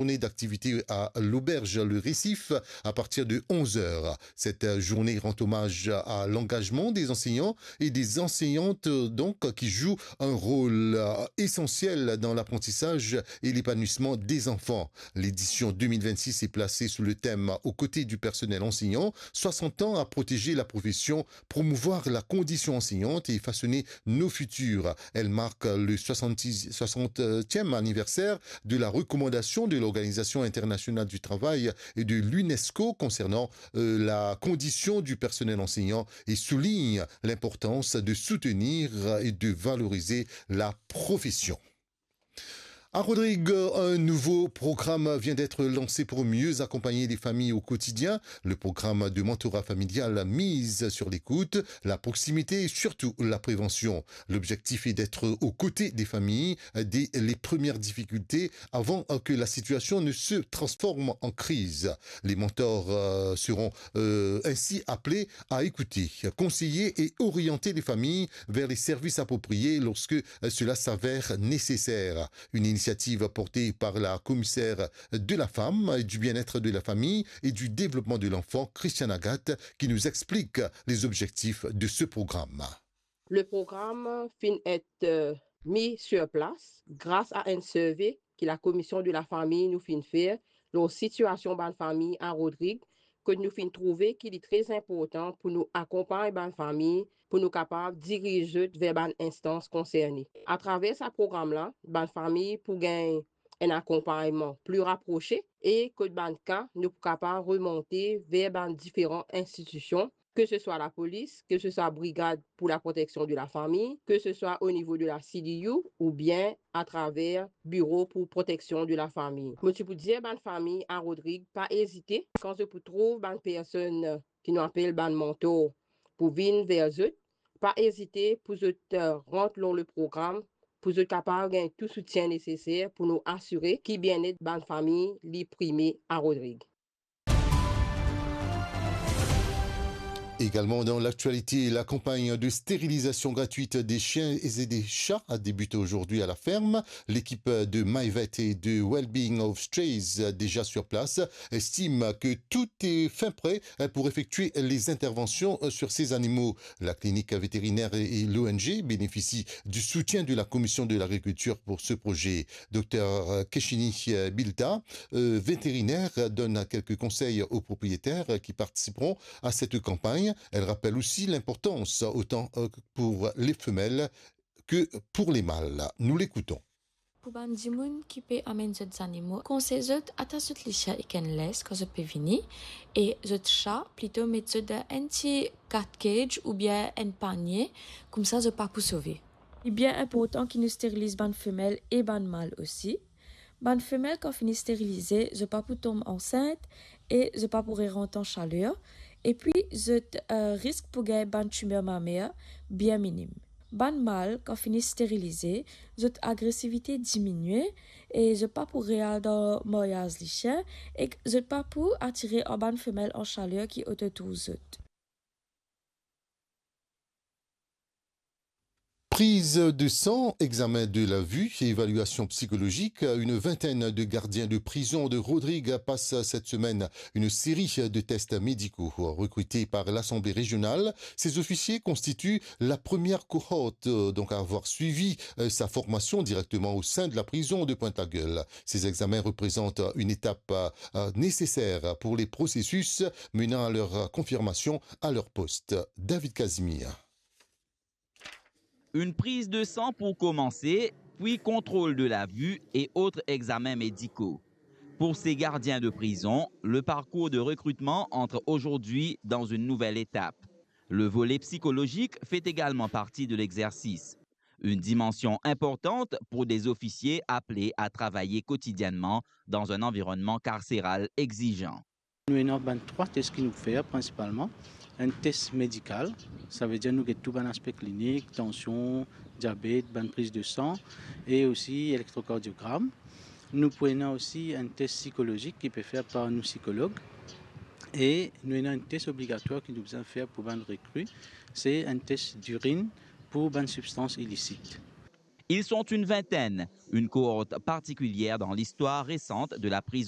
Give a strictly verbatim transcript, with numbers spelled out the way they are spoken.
journée d'activité à l'auberge Le Récif à partir de onze heures. Cette journée rend hommage à l'engagement des enseignants et des enseignantes, donc, qui jouent un rôle, euh, essentiel dans l'apprentissage et l'épanouissement des enfants. L'édition deux mille vingt-six est placée sous le thème « Aux côtés du personnel enseignant, soixante ans à protéger la profession, promouvoir la condition enseignante et façonner nos futurs ». Elle marque le soixante-six, soixantième anniversaire de la recommandation de l'Organisation internationale du travail et de l'UNESCO concernant, euh, la condition du personnel enseignant et souligne l'importance de soutenir et de valoriser la profession. À Rodrigues, un nouveau programme vient d'être lancé pour mieux accompagner les familles au quotidien. Le programme de mentorat familial mise sur l'écoute, la proximité et surtout la prévention. L'objectif est d'être aux côtés des familles dès les premières difficultés, avant que la situation ne se transforme en crise. Les mentors, euh, seront, euh, ainsi appelés à écouter, conseiller et orienter les familles vers les services appropriés lorsque, euh, cela s'avère nécessaire. Une initiative portée par la commissaire de la femme, du bien-être de la famille et du développement de l'enfant, Christiane Agathe, qui nous explique les objectifs de ce programme. Le program finn et, euh, mis sur place gras a enn survey ki Lakomision de Lafami nou finn fer lor sitiasion bann fami a Rodrig, kot nou finn trouve ki li tre inportan pou nou akonpagn bann fami, pou nou kapav diriz zot ver bann instans konserne. Atraver sa program la, bann fami pou gagn enn akonpagnman pli raprose e kot bann ka nou pou kapav remonte ver bann diferan institision, ke se swa lapolis, ke se swa Brigad pour la protection de la famille, ke se swa o nivo de la C D U oubien atraver Biro pou Proteksion de Lafami. Mo ti pou dir bann fami a Rodrig, pa ezite, kan zot pou trouv bann personn ki nou apel bann mentor pou vinn ver zot, pa ezite pou zot, eh, rant lor le program, pou zot kapav gagn tou soutien neseser pou nou asire ki bienet bann fami li prime a Rodrig. Également dans l'actualité, la campagne de stérilisation gratuite des chiens et des chats a débuté aujourd'hui à la ferme. L'équipe de MyVet et de Wellbeing of Strays, déjà sur place, estime que tout est fin prêt pour effectuer les interventions sur ces animaux. La clinique vétérinaire et l'O N G bénéficient du soutien de la Commission de l'Agriculture pour ce projet. Docteur Keshini Bilta, euh, vétérinaire, donne quelques conseils aux propriétaires qui participeront à cette campagne. Elle rappelle aussi l'importance, autant, euh, pour les femelles que pour les mâles. Nous l'écoutons. Pou bann dimoun ki pe amenn zot zanimo, konsey zot atas zot lisien ek enn les kan zot pe vini, e zot sa plito met zot dan enn ti cat cage oubien enn panie, koumsa zot pa pou sove. Li bien inportan ki nou steriliz bann femel e bann mal osi. Bann femel kan fini sterilize, zot pa pou tom ansint e zot pa pou rerant an saler, epi zot, eh, risk pou gagn bann timer mamer bien minim. Bann mal kan fini sterilize, zot agresivite diminie e zot pa pou real dan maryaz lisien ek zot pa pou atire ar bann femel an saler ki ototour zot. Prise de sang, examen de la vue et évaluation psychologique, une vingtaine de gardiens de prison de Rodrigues passent cette semaine une série de tests médicaux. Recrutés par l'Assemblée régionale, ces officiers constituent la première cohorte, euh, donc à avoir suivi, euh, sa formation directement au sein de la prison de Pointe-la-Gueule. Ces examens représentent une étape, euh, nécessaire pour les processus menant à leur confirmation à leur poste. David Casimir. Une prise de sang pour commencer, puis contrôle de la vue et autres examens médicaux. Pour ces gardiens de prison, le parcours de recrutement entre aujourd'hui dans une nouvelle étape. Le volet psychologique fait également partie de l'exercice, une dimension importante pour des officiers appelés à travailler quotidiennement dans un environnement carcéral exigeant. Nou ena bann trwa tes ki nou fer prinsipalman. Enn tes medikal, savedir nou get tou bann aspe klinik, tansion, diabet, bann priz de san e osi elektrokardiogram. Nou pou ena osi enn tes psikolozik ki pe fer par nou psikolog. E nou ena enn tes obligatwar ki nou bizin fer pou bann rekri, se enn tes dirinn pou bann sibstans ilisit. Ils sont une vingtaine, une cohorte particulière dans l'histoire récente de la prison